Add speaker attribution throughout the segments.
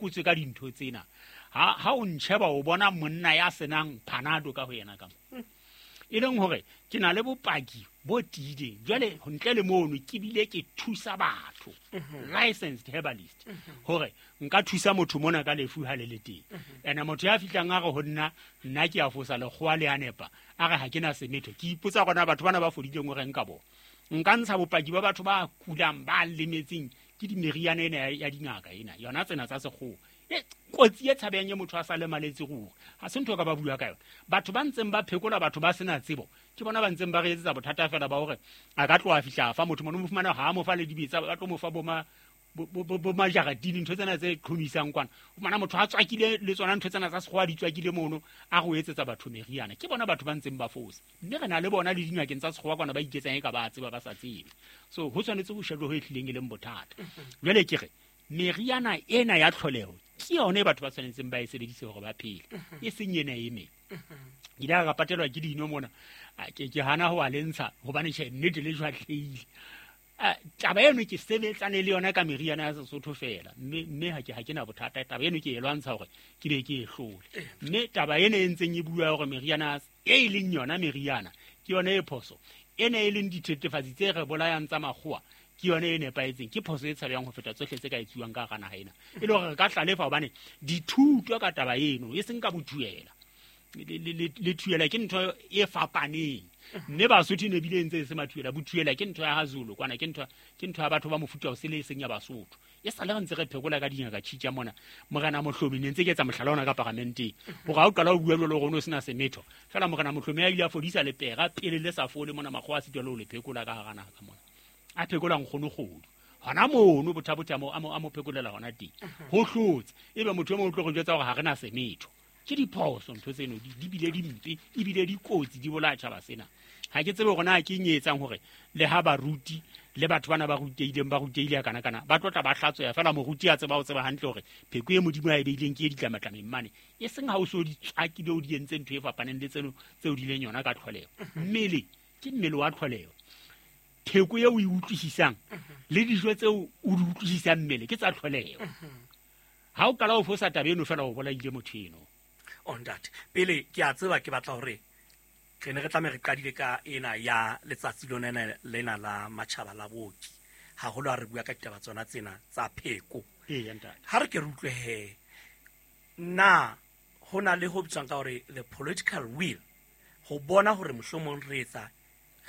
Speaker 1: phekotswe ka dintho tsena. Ha o ntjheba o bona monna ya senang Panado ka ho yena ka mo. E leng hore ke na le bopaki bo tiileng. Jwale ntle le mono ke bile ke thusa batho, licensed herbalist, hore nka thusa motho mona ka lefu ha le le teng. Ene motho ya fihlang a re ho nna, nna ke a fosa lekgowa le a nepa, a re ha ke na semetho. Ke ipotsa gona batho bana ba fodileng hore nka bona. Nka ntsha bopaki ba batho ba kulang, ba lemetseng ke dimeriana ena ya dingaka ena, yona tsena tsa sekgowa. Kotsi e tshabehang e motho a sa lemaletse ruri, ha se ntho ka ba bua ka yona. Batho ba ntseng ba phekola batho ba sena tsebo, ke bona ba ntseng ba re etsetsa bothata fela ba hore a ka tloha fihla fa motho mono mo fumana ha a mo fa le dibetsa, ba tlo mo fa bo majaratini, ntho tsena tse qhomisang kwana. O fumana motho a tswakile le tsona ntho tsena tsa sekgowa di tswakile mono, a re o etsetsa batho meriana. Ke bona batho ba ntseng ba fosa, mme re na le bona le dingakeng tsa sekgowa kwana ba iketsang e ka ba tseba ba sa tsebe. So ho tshwanetse ho shejwe ho e hlileng e leng bothata. Jwale ke re meriana ena ya tlholeho ke yone e batho ba tshwanetseng ba e sebedise hore ba phele, e seng ena e meng. Ke ile ka patelwa ke dino mona, ke hana ho a le ntsha hobane tjhe nnete le jwatlehile. Taba eno ke sebetsane le yona ka meriana ya Sesotho fela, mme ha ke na bothata. Taba eno ke e lwantsha hore ke be ke e hlole. Mme taba ena e ntseng e bua hore meriana e leng yona meriana ke yona e phoso, ena e leng dithethefatsi tse re bolayang tsa makgowa ke yona e nepahetseng, ke phoso e tshabehang ho feta tsohle tse ka etsuwang ka hara naha ena. E le hore re ka hlalefa hobane dithuto ka taba eno e seng ka bothuela. Le thuela ke ntho e fapaneng, mme Basotho e ne bile ntse e se mathuela. Bothuela ke ntho ya ha Zulu kwana, ke ntho ya batho ba mofuta o sele e seng ya Basotho. E sale re ntse re phekola ka dingaka tjhitja mona. Morena Mohlomi ne ntse ke etsa mohlala ona ka paramenteng, hore ha o qala ho bua jwalo hore o no sena semetho fela, Morena Mohlomi a ile a fodisa lepera pele le sa fole mona, makgowa a sitwa le ho le phekola ka hara naha ka mona. A phekola nkgono kgodu hona mono, bothabothe a mo phekolela hona teng, ho hlotse. Ebe motho e mong o tlo re jwetsa hore ha re na semetho. Ke diphoso ntho tseno, di bile di mpe, ebile di kotsi, di bolaya tjhaba sena. Ha ke tsebe hore na ke eng e etsang hore le ha baruti le batho bana ba rutehileng, ba rutehile ya kana kana, ba tlotla ba hlatsweha fela. Moruti a tseba ho tseba hantle hore pheko e Modimo a e beileng ke e ditlamatlameng mane, e seng ha o so di tswakile o di entse ntho e fapaneng le tseno tseo di leng yona ka tlholeho. Mmele ke mmele wa tlholeho, pheko eo o e utlwisisang le dijo tseo o di utlwisisang mmele ke tsa tlholeho. Ha o qala ho fosa taba eno fela, o bolaile motho eno.
Speaker 2: O ntate, pele ke a tseba ke batla hore re ne re tlameha re qadile ka ena ya letsatsi lona lena la matjhaba la booki, haholo ha re bua ka ditaba tsona tsena tsa pheko.
Speaker 1: Eya, ntate.
Speaker 2: Ha re ke re utlwe he, na ho na le ho bitswang ka hore the political will ho bona hore mohlomong re etsa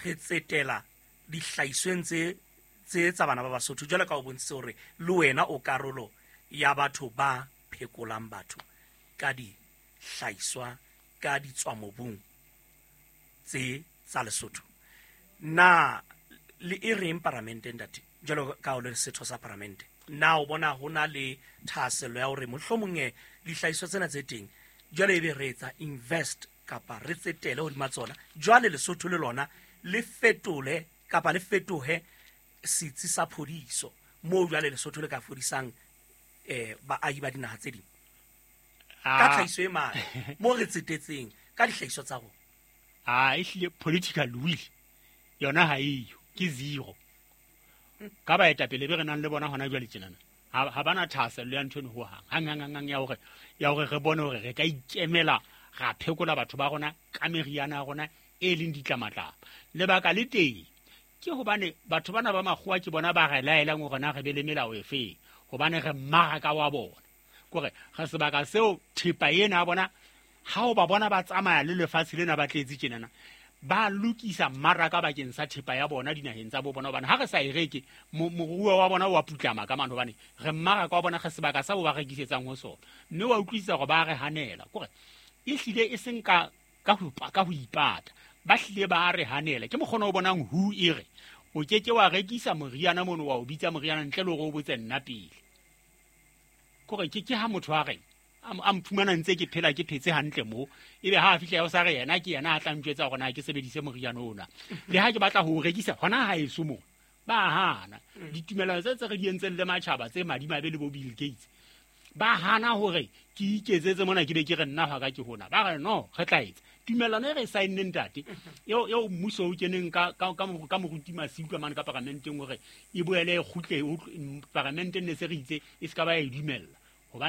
Speaker 2: re tsetela dihlahisweng tse tsa bana ba Basotho, jwalo ka o bontshitse hore le wena o karolo ya batho ba phekolang batho ka dihlahiswa ka ditswamobung tse tsa Lesotho. Na le e reng paramenteng, ntate, jwalo ka o le setho sa paramente, na o bona ho na le thahasello ya hore mohlomong dihlahiswa tsena tse teng jwale ebe re etsa invest kapa re tsetele hodima tsona, jwale Lesotho le lona le fetole kapa le fetohe setsi sa phodiso moo jwale Lesotho le ka fodisang baahi ba dinaha tse ding ka tlhahiso e mane moo re tsetetseng ka dihlahiswa tsa rona?
Speaker 1: A ehlile political will yona ha eyo, ke zero ka baetapele be re nang le bona hona jwale tjenana. Ha bana thahasello ya ntho eno ho hang, hang, hang, hang, hang, ya hore re bone hore re ka ikemela ra phekola batho ba rona ka meriana ya rona e leng ditlamatlama. Lebaka le teng ke hobane batho bana ba makgowa ke bona ba re laelang hore na re be le melao efeng, hobane re mmaraka wa bona, kore re sebaka seo thepa ena ya bona. Ha o ba bona ba tsamaya le lefatshe lena ba tletse tjenana, ba lokisa mmaraka bakeng sa thepa ya bona dinaheng tsa bo bona, hobane ha re sa e reke, moruo wa bona wa putlama ka mane, hobane re mmaraka wa bona, re sebaka sa bo ba rekisetsang ho sona. Mme wa utlwisisa hore ba re hanela, kore e hlile e seng ka ho ipata, ba hlile ba re hanela. Ke mokgona o bonang hu e re o ke ke wa rekisa moriana mono, wa o bitsa moriana ntle le hore o botse nna pele, kore ke ha motho a reng a mphumana ntse ke phela ke phetse hantle mo, ebe ha a fihla ya o sa re yena ke yena a tla ntjwetsa hore na ke sebedise moriana ona, le ha ke batla ho o rekisa hona ha eso mo ba hana. Ditumellano tse re di entseng le matjhaba tse madimabe le bo Bill Gates, ba hana hore ke iketsetse mona, ke be ke re nna hwa ka ke hona, ba re no re tla etsa tumellano e re e saenneng, ntate, eo mmuso o keneng ka moruti Masiu ka mane ka paramenteng hore e boele e kgutle paramenteng, ne se re itse e se ka ba ya e dumella hobane